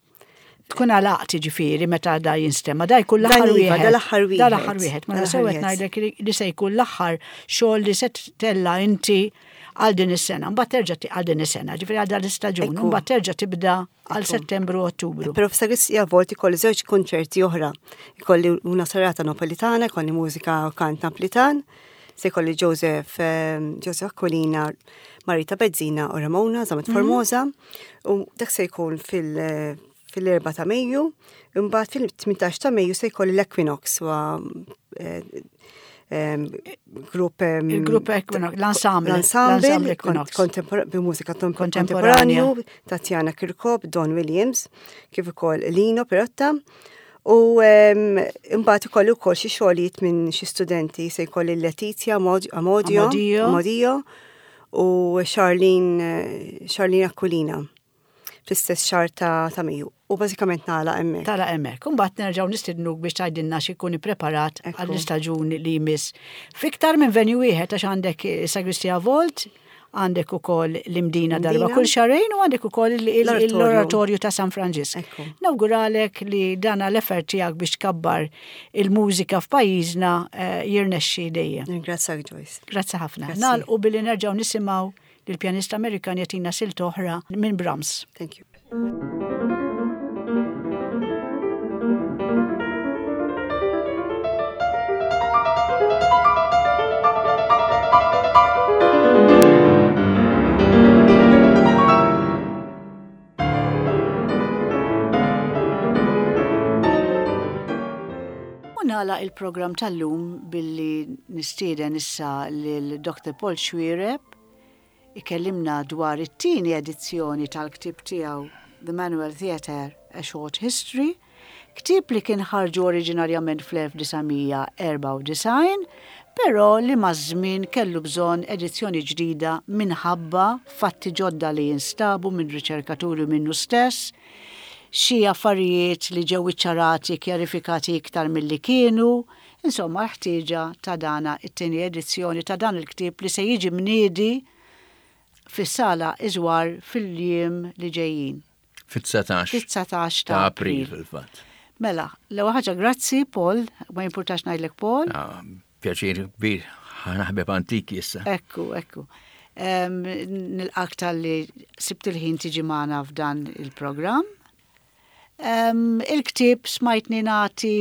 tkun għalaqt ġifieri meta da jinstema, da jkun Dan l-aħħar iva, wieħed. da l-aħħar Da l-aħħar wieħed. wieħed. Ma Da l-aħħar sew qed wieħed. ngħidlek li- li se jkun l-aħħar xogħol li se tella inti għal din is-sena. Mbagħad terġa' ti- għal din is-sena, ġifieri għal dan l-istaġun, Ekku. mbagħad terġa' tibda għal Settembru u Ottubru. Però f'Sagristija Vault ikolli żewġ konċerti oħra. Ikolli una serata napolitana, ikolli mużika u kant napolitan, se jkolli Joseph, eh, Joseph Aquilina, Marita Bezzina u Ramona, Zamet Formosa, u dak se jkun fil- fil-erba ta' Mejju, imbagħad fil-tmintax ta' Mejju se jkolli l-Equinox, wa eh, em, grupp em, Il-grupp Equinox, l-ensemble, l-ensemble l-ensemble Equinox. kontempor- bi mużika Kontemporanja. kontemporanju, Tatjana Kirkop, Don Williams, kif ukoll Lino Perotta. U em, imbagħad ikolli wkoll xi xogħlijiet minn xi studenti se jkolli Letizia Amod- Amodio, Amodio. Amodio u Charlene eh, Charlene Aquilina fl-istess xahar ta' ta' Mejju. U bażikament nagħlaq hemmhekk. Tala hemmhekk. Imbagħad nerġgħu nistidnuk biex tgħidilna x'ikun ippreparat Ekku. għall-istaġun li jmiss. Fiktar minn venue wieħed għax għandek Sagristija Vault, għandek ukoll l-Imdina darba Imdina. kull xahrejn u għandek ukoll il- il- L-oratorju. l-oratorju ta' San Franġisk. Ekku. Nawguralek li dana l-effort tiegħek biex tkabbar il-mużika f'pajjiżna eh, jirnexxi dejjem. Ringrazzjak Joyce. Grazzi ħafna. Grazzi. Nagħlqu billi nerġgħu nisimgħu lill-pjanista Amerikan jagħtina silta oħra minn Brahms. Thank you. U nagħlaq il-program tal-lum billi nistieden issa lil Doctor Paul Xuereb ikellimna dwar it-tieni edizzjoni tal-ktib tiegħu The Manual Theatre, A Short History, ktib li kien ħarġu oriġinarjament fl-elf disa' mija erbgħa u disgħin, però li maż-żmien kellu bżonn edizzjoni ġdida minħabba fatti ġodda li jinstabu minn riċerkaturi minnu stess, xi affarijiet li ġew iċċarati, kjarifikati iktar milli kienu, insomma l-ħtieġa ta' dana it-tieni edizzjoni ta' dan il-ktieb li se jiġi mniedi fis-sala Iżwar fil-jiem li ġejjin. Fit-dsatax Fit-dsatax ta' ta' April April. fil-fatt. Mela, l-ewwel ħaġa grazzi Paul, ma jimpurtax ngħidlek Paul. Ah, Pjaċir kbir, ħanaħbeb antiki issa. Ekku, ekku. Um, Nilqak tal-li sibt il-ħin tiġi magħna f'dan il-programm. Um, il-ktieb smajtni nagħti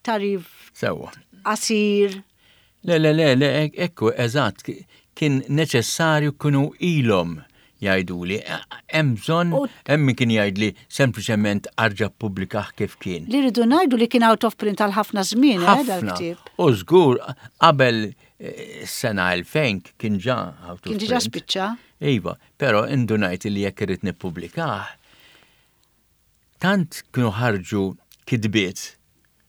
tarif Sewwa. qasir. Le, le, le, le, ek- ekku, eżatt, kien neċessarju kienu ilhom jgħiduli. Hemm bżonn, U- hemm min kien jgħidli sempliċement arġa ppubblikah kif kien. Li rridu ngħidu li kien out of print għal ħafna żmien, eh, Ħafna. dal-ktieb. U żgur qabel eh, sena elfejn kien ġa out of Kien diġà print. spiċċa. Iva, però indunajt li jekk irrid nippubblikah, tant kienu ħarġu kitbiet,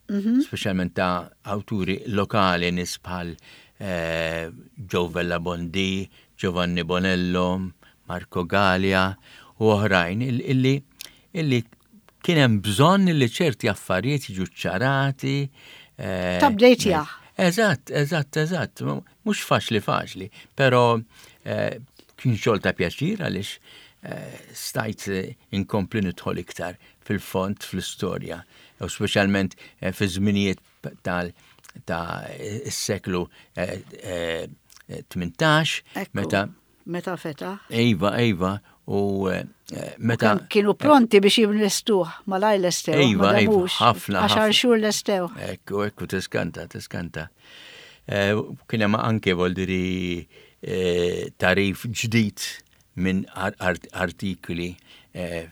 Mhm. speċjalment ta' awturi lokali nies bħal eh, Joe Vella Bondi, Giovanni Bonello, Marco Gallia u oħrajn il- illi illi kien hemm bżonn li ċerti affarijiet jiġu ċarati. eh, Tabdejtjah. Eżatt, eżatt, eżatt. Mhux faċli faċli, però eh, kien xogħol ta' pjaċir għaliex eh, stajt eh, inkompli nidħol iktar fil-fond fl-istorja, u speċjalment eh, fi żminijiet tal ta' is-seklu eh, eh, tmintax, Ekku. meta Meta fetaħ. Iva, Iva, u eh, meta Kienu pronti biex jimlestuh, malaj lestew. Iva, ma iva, damux. ħafna, Għaxar ħafna. xhur lestew. Ekku, ekku, tiskanta, tiskanta. Eh, Kien hemm anke voldiri eh, tagħrif ġdid minn ar- art- artikoli eh,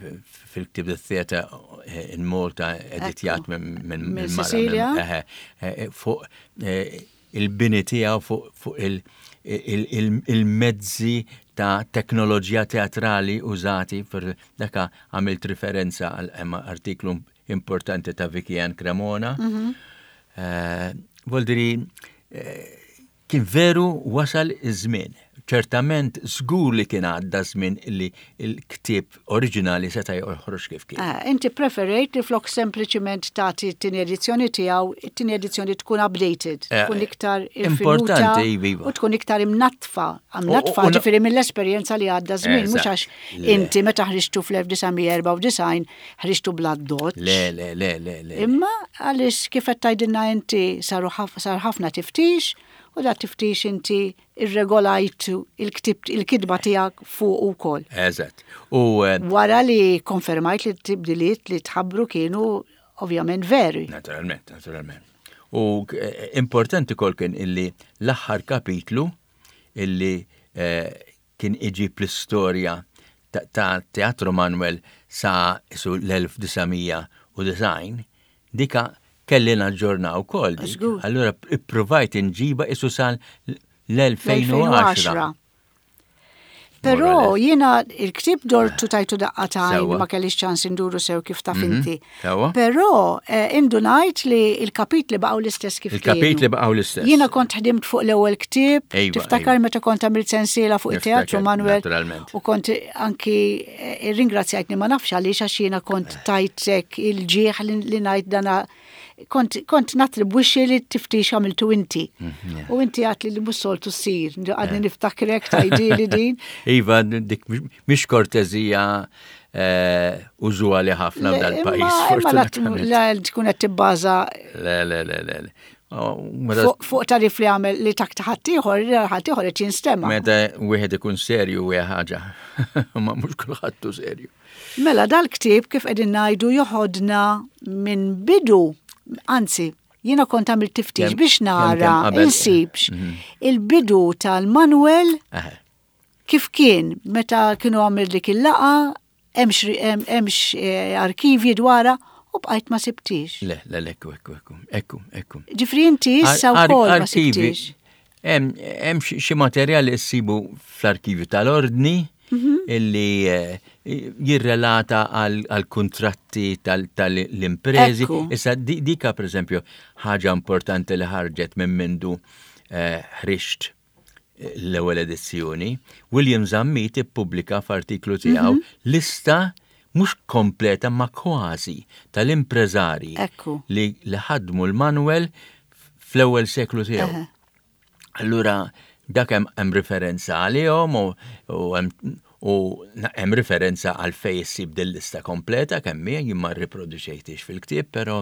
fil-ktib The Theatre in Malta editjat minn minn Minn minn mara, Cecilia. minn- eħe, eh, fuq eh, il-bini tiegħu fuq fuq il- il- il- il-mezzi ta' teknoloġija teatrali użati per daka għamilt referenza għal hemm artiklu importanti ta' Vicky Ann Cremona. Eh, Voldiri, eh, kien veru wasal iż-żmien. Ċertament żgur li kien għadda żmien li l-ktieb oriġinali seta' joħroġ kif kien. Eh, Inti preferejt li flok sempliċiment tagħti t-tieni edizzjoni tiegħu, it-tieni edizzjoni tkun updated, Eh, tkun iktar importanti, irfinuta iva, iva. u tkun iktar imnatfa. Imnatfa U- u- ġifieri mill-esperjenza li għadda żmien, mhux Eżatt. għax Le. inti meta ħriġtu fl-elf disa' mija erbgħa u disgħin ħriġtu bla doċ. Le, le, le, le, le. Imma għaliex kif qed tgħidilna inti saru ħaf- sar ħafna tiftix u da tiftix inti irregolajt il-ktib il-kitba tiegħek fuq ukoll. Eżatt. U eh, Wara li konfermajt li t-tibdiliet li tħabbru kienu ovvjament veri. Naturalment, naturalment. U eh, importanti kol kien illi l-aħħar kapitlu illi eh, kien iġib l-istorja ta' ta' Teatru Manuel sa su l-elf disa' mija u disgħin, dika kelli naġġorna wkoll dik. Żgur. Allura ipprovajt inġiba isu sal l-elfejn u għaxra. Però jiena il-ktib dortu tajtu daqqa t'għajn Sewwa. ma kellix ċans induru sew kif taf inti. Sewwa. Però eh, indunajt li il-kapitli baqgħu l-istess kif Il-kapitli kienu. baqgħu l-istess. Jiena kont ħdimt fuq l-ewwel ktieb, Ejwa, tiftakar ejwa. meta kont għamilt sensiela fuq it-teatru Niftakar, Manuel. naturalment. U kont anki eh, ringrazzjajtni ma nafx għaliex għax jiena kont tajtek il-ġieħ li li ngħid dana kont, kont natribwixxi li tiftix għamiltu inti. Mhm, U inti għat li li mhux soltu ssir, għadni niftakrek tgħidli din. Iva, dik mhix kortezija eh, użwali ħafna Le, f'dal-pajjiż, imma- imma la- fortunatament. La tkun qed tibbaża Le, le, le, le. le. Oh, Meta fuq fuq tagħrif li għamel li tak ħaddieħor, ħaddieħor qed jinstema'. meta wieħed ikun serju hija ħaġa, ma mhux kulħadd hu serju. Mela dal-ktieb kif qegħdin ngħidu joħodna minn bidu, anzi, jiena kont għamilt tiftix Kemm- biex kemm- nara kemm qabel. insibx Mhm. il-bidu tal-Manuel Eħe. kif kien meta kienu għamil dik il-laqa, hemmx hemm- hemmx eh, arkivji dwarha u bqajt ma sibtix. Le, le, le, ekku, ekku, ekku, ekku, ekku. Ġifri inti issa Ar- wkoll ma arkivi, sibtix. Hemm hemm xi xi materjali ssibu fl-arkivju tal-ordni Mhm. illi eh, jirrelata għal għal kontratti tal-imprezi. Ekku. Issa di- dika per eżempju ħaġa importanti li ħarġet minn mindu eh, ħriġt l-ewwel edizzjoni, William Zammit ippubblika f'artiklu tiegħu Mhm. lista mhux kompleta ma kważi tal-impreżarji Ekku. li li ħadmu l-Manuel fl-ewwel seklu tiegħu. Eħe. Allura dak hemm hemm referenza għalihom u u hemm u na- hemm referenza għal fej issib din lista kompleta kemm hija jien ma rriproduċejtix fil-ktieb, però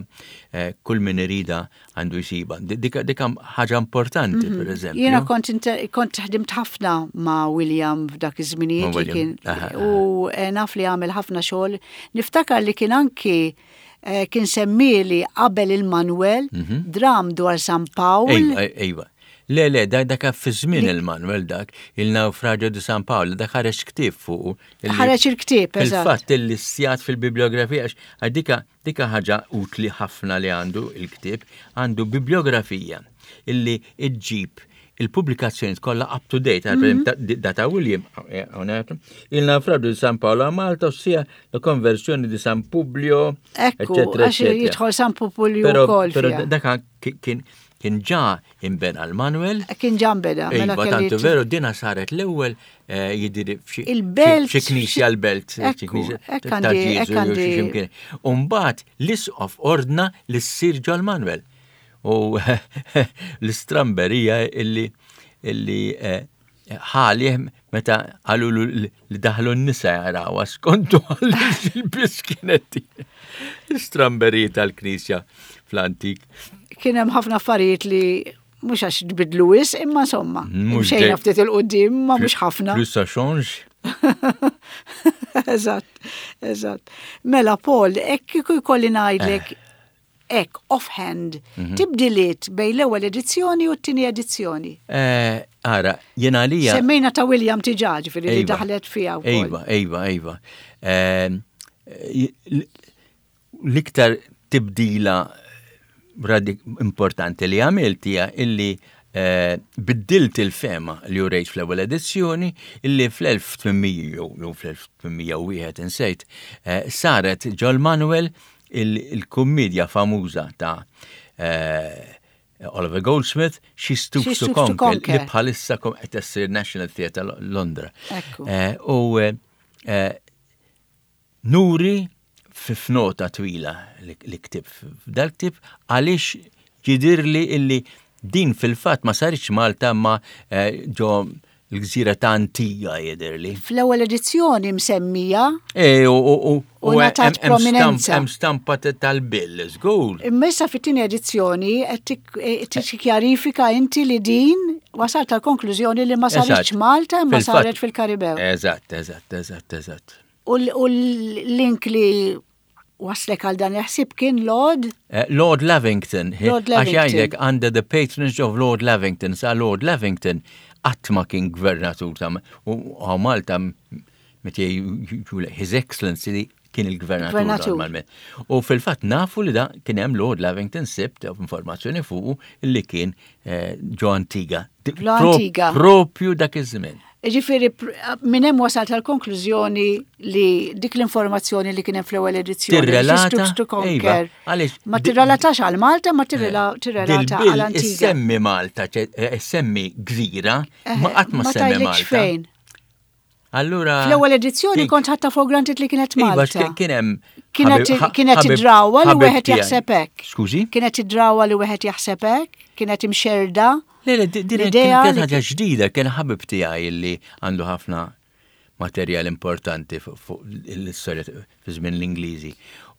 eh, kull min irida għandu jsiba. Di- Dika dika ħaġa importanti per eżempju. Jiena kont inte- kont ħdimt ħafna ma' William f'dak iż-żminijiet Ma' li kien William, aha, aha. u eh, naf li għamel ħafna xogħol. Niftakar li kien anki eh, kien semmili qabel il-Manuel dram dwar San Pawl. Ejwa, ejwa. Le, le, dak dak fi żmien il-Manuel dak, il-Naufragio di San Paolo, dak ħareġ ktieb fuq. illi- Ħareġ il-ktieb, eżatt. Fil-fatt il-listjat fil-bibliografija, għax għax dika, dika ħaġa utli ħafna li għandu il-ktieb, għandu bibliografija illi iġġib il-pubblikazzjoni kollha up to date, mm -hmm. data William, eh, il naufragio di San Paolo a Malta, ossia la conversione di San Publio, eccetera, eccetera. Jidħol San Publio wkoll. Però dak kien kien ġa imbena l-Manuel. Kien ġa imbena. Mela iva, tantu veru, dina saret l-ewwel eh, jidiri Il-belt. Xi knisja l-belt. Xi knisja ta' Ġieżu. Umbagħad l-isqof ordna li ssir ġol Manuel. U l-istramberija illi illi eh, ħalih meta qalu li daħlu n-nisa jaraw skontu għal kienet l-istramberija tal-knisja fl-antik. Kien hemm ħafna affarijiet li mhux għax tbidlu wis, imma insomma. Xejn ftit il-qudiem, ma mhux ħafna. Plus ça change. Eżatt, eżatt. Mela Paul, hekk kieku jkolli ngħidlek eh. Hekk offhand, mhm. tibdiliet bejn l-ewwel edizzjoni u t-tieni edizzjoni. Eh, ara, jien għalija. Semmejna ta' William diġà, ġifieri li daħlet fiha wkoll. Ejwa, ejwa, ejwa. Ehm, l-iktar tibdila importanti li għamilt hija illi eh, biddilt il-fema li urejt fl-ewwel edizzjoni illi fl-elf tmien mija jew fl-elf tmien mija u wieħed insejt eh, saret ġol Manuel il-kummedja famuża ta' eh, Oliver Goldsmith, She Stoops to Conquer, li bħalissa qed issir National Theatre Londra. U nuri f'nota twila li ktib f'dal-ktib għaliex ġidirli illi din fil-fatt ma saritx Malta ma ġo l-gżira ta' Antigua jidirli. Fl-ewwel edizzjoni msemmija. E, u, u, u, u ngħatat prominenza. Hemm stampa tal-bill, żgur. Imma issa fit-tieni edizzjoni qed tikkjarifika inti li din wasalt tal-konklużjoni li ma saritx Malta imma saret fil-Karibew. Eżatt, eżatt, eżatt, eżatt. U l-link li waslek għal dan il-ħsieb kien Lord? Uh, Lord Lavington. Lord Lavington. Għax jgħidlek under the patronage of Lord Lavington. Sa Lord Lavington qatt ma kien gvernatur ta' u Malta meta His Excellency kien il-gvernatur normalment. U fil-fatt nafu li da kien hemm Lord Lavington sibt informazzjoni fuqu li kien ġo Antigua. Ġo Antigua. Propju dak iż-żmien. Ġifieri, minn hemm wasalt tal-konklużjoni li dik l-informazzjoni li kien hemm fl-ewwel edizzjoni. Tirrelata. Ma tirrelatax għal Malta, ma tirrelata għal Antigua. Issemmi Malta, issemmi gżira, ma qatt ma semmi Malta. Fejn. Allura. Fl-ewwel edizzjoni kont ħatta for granted li kienet Malta. Kien hemm. Kienet id-drawa li wieħed jaħseb hekk. Skużi? Kienet id-drawa li wieħed jaħseb hekk, kienet imxerda. Le, le, din kienet ħaġa ġdida, kien ħabib tiegħi li għandu ħafna materjal importanti fuq l-istorja fi żmien l-Ingliżi.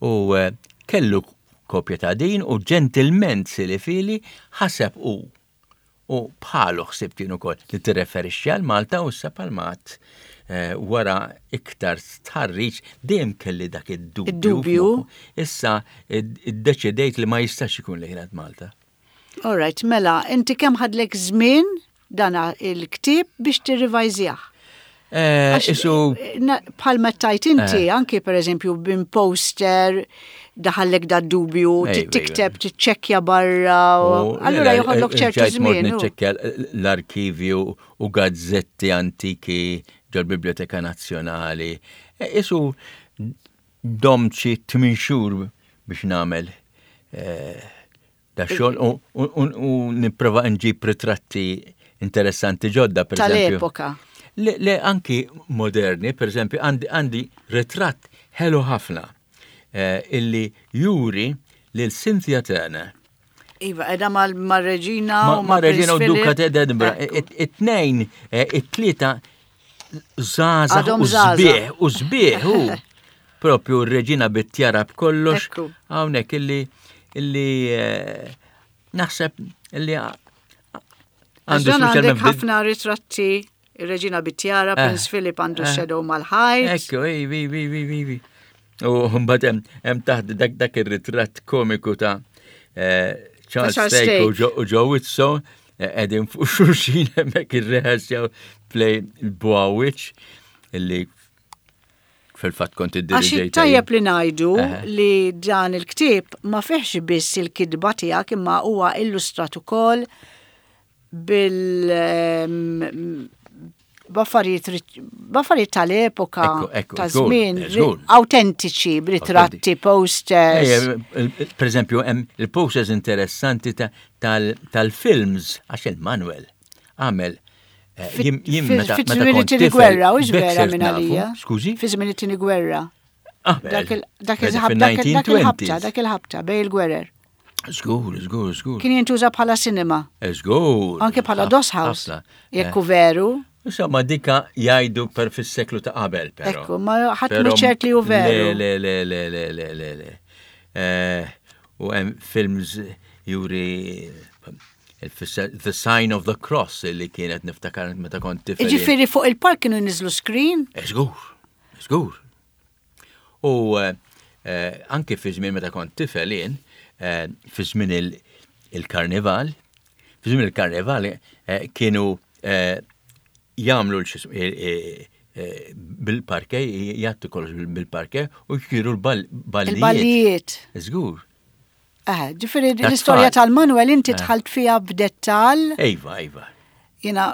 U kellu kopja ta' din u ġentilment silifili ħaseb u u bħalu ħsibt jien ukoll li tirreferixxi għal Malta u issa palmat wara iktar stħarriġ dejjem kelli dak id-dubju. Id-dubju. Issa iddeċidejt li ma jistax ikun li kienet Malta. All right, mela, inti kemm ħadlek żmien dan il-ktieb biex tirrivajżjah? Isu. Bħalma tajt inti, anki per eżempju bin poster, daħallek da dubju, tikteb, tiċċekkja barra, allura joħodlok ċertu żmien. Niċċekkja l-arkivju u gazzetti antiki ġol-Biblioteka Nazzjonali. Isu domt xi tmien xhur biex nagħmel da xogħol u nipprova nġib ritratti interessanti ġodda, per eżempju. Tal-epoka. Le, le anki moderni, per eżempju, għandi ritratt ħelu ħafna illi juri lil Cynthia Turner. Iva, edha mal-reġina u mal-reġina u duka ta' Edinburgh. It-tnejn, it-tlieta żgħażagħ u sbieħ, u sbieħ u propju r-reġina bit-tjara b'kollox. Hawnhekk illi illi naħseb illi għandu għandek ħafna ritratti, ir-reġina bit-tjara, Prince Philip għandu shadow mal-ħajt. Ekku, ivi, ivi, ivi, ivi. U mbagħad hemm taħt dak dak ir-ritratt komiku ta' Charles Stake u Joe Whitson qegħdin fuq xulxin hemmhekk irreħasjaw play il-Boawich illi fil-fatt kont iddirigejt. Għax tajjeb li ngħidu li dan il-ktieb ma fihx biss il-kitba tiegħek imma huwa illustrat ukoll Bil ehm, b'affarijiet b'affarijiet tal-epoka ta' żmien autentiċi b'ritratti, posters. Per eżempju, hemm il-posters interessanti tal-films għax il-Manuel għamel eh, jien meta fi żmien it-tieni gwerra, u vera minn għalija. Skużi? Fi żmien it-tieni gwerra. Ah, dak il-ħabta, dak il-ħabta bej il-gwerer. Żgur, żgur, żgur. Kien jintuża bħala cinema. Żgur. Anke bħala doss house. Jekk hu veru. Insomma, dika jgħidu per fis-seklu ta' qabel, però. Ekku, ma ħadd mhu ċert li hu veru. Le, le, le, le, le, le, le. Eh, u hemm films juri The Sign of the Cross li kienet niftakar meta kont tifel. Jiġifieri fuq il-park kienu jniżlu screen? Żgur, żgur. U eh, eh, anke fi żmien meta kont tifel jien, fi żmien il-karnival, fi żmien il-karnival kienu jagħmlu bil-parke, jgħattu kollox bil-parke u jkiru l-ballijiet. Il-ballijiet. Żgur. Eh, ġifieri l-istorja tal-Manuel inti dħalt fiha b'dettal. Iva, iva. Jiena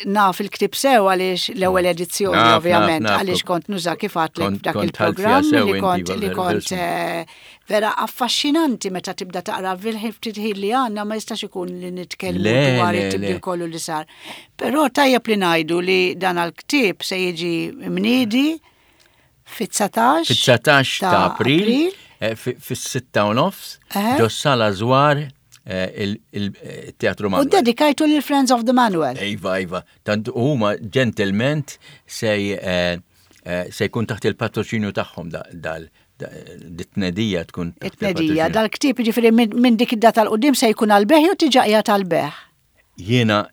naf il-ktib sew għaliex l-ewwel edizzjoni ovvjament għaliex kont nuża kif għedtlek f'dak il-programm li kont li kont eh, vera affaxxinanti meta tibda taqra fil-ħin ftit ħin li għandna ma jistax ikun li nitkellmu dwar it-tibdil kollu li sar. Però tajjeb li ngħidu li dan għal-ktieb se jiġi mniedi fit-dsatax Fit-dsatax ta' April, eh, fis-sitta u nofs, ġo sala Żwar eh, il-Teatru Manuel. U dedikajtu lil Friends of the Manuel. Iva, iva. Tant huma ġentilment se eh, se jkun taħt il-patroċinju tagħhom dal dit-tnedija tkun. It-tnedija, dal-ktieb ġifieri minn dik id-data l-qudiem se jkun għal-bejgħ u diġà qiegħed għal-bejgħ. Jiena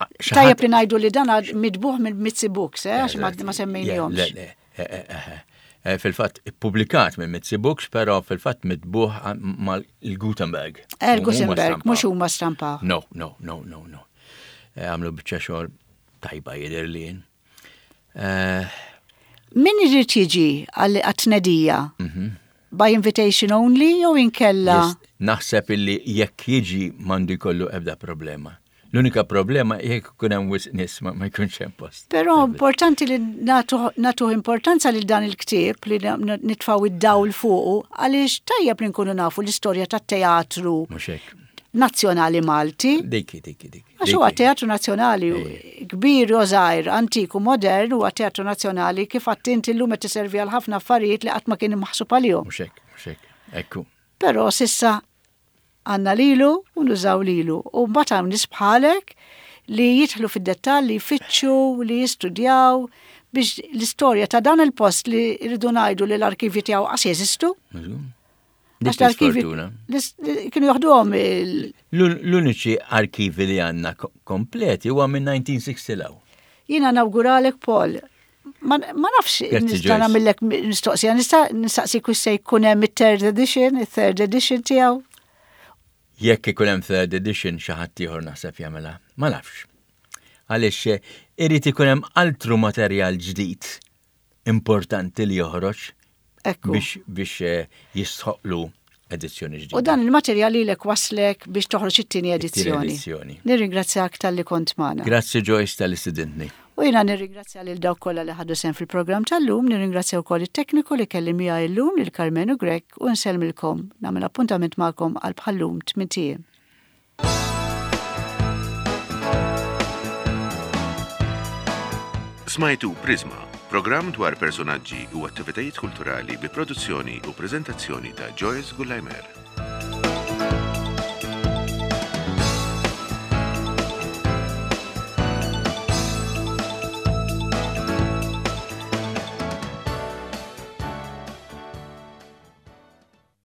Tajjeb li ngħidu li dan mitbugħ minn Mizzi Books, eh, għax ma semmejnihomx. Eh, fil-fatt ippubblikat minn Mizzi Books, però fil-fatt mitbugħ mal-Gutenberg. Eh, il-Gutenberg, mhux huma stampaw. No, no, no, no, no. Eh, għamlu biċċa xogħol tajba jidher li jien. Min irid jiġi għat-tnedija? Mhm. By invitation only jew inkella? Naħseb illi jekk jiġi m'għandu jkollu ebda problema. L-unika problema jekk ikun hemm wisq nies ma jkunx hemm post. Però importanti li nagħtu importanza lil dan il-ktieb li nitfgħu id-dawl fuqu għaliex tajjeb li nkunu nafu l-istorja tat-teatru. Mhux hekk. Nazzjonali Malti. Dikki, dikki, dikki. Għax huwa teatru nazzjonali kbir u żgħir, antik u modern huwa teatru nazzjonali kif għedt inti llum qed iservi għal ħafna affarijiet li qatt ma kien maħsub għalihom. Mhux hekk, mhux hekk. Ekku. Però s'issa għandna lilu u nużaw lilu. U mbagħad hawn nies bħalek li jidħlu fid-dettall, li jfittxu, li jistudjaw biex l-istorja ta' dan il-post li rridu ngħidu li l-arkivi tiegħu qas jeżistu. Għax l-arkivi kienu joħduhom il- L-uniċi arkivi li għandna kompleti huwa minn elf disa' mija u sittin law. Jiena nawguralek, Paul. Ma nafx nista' nagħmellek mistoqsija, nista' nistaqsi kux se jkun hemm it-third edition, it-third edition tiegħu. Jekk ikun hemm third edition xi ħadd ieħor naħseb jagħmilha. Ma nafx. Għaliex eh, irid ikun hemm altru materjal ġdid importanti li joħroġ biex biex eh, jistħoqlu edizzjoni ġdida. U dan il-materjal li lek waslek biex toħroġ it-tieni edizzjoni. Nirringrazzjak talli kont magħna. Grazzi, Joyce, talli stidintni. U jiena nirringrazzja lil dawk kollha li ħadu sehem fil-programm tal-lum, nirringrazzja wkoll it-tekniku li kelli miegħi llum lil Carmenu Grech u nsellmilkom nagħmel appuntament magħkom għal bħallum tmint ijiem. Smajtu Prisma, programm dwar personaġġi u attivitajiet kulturali bi produzzjoni u prezentazzjoni ta' Joyce Gullajmer.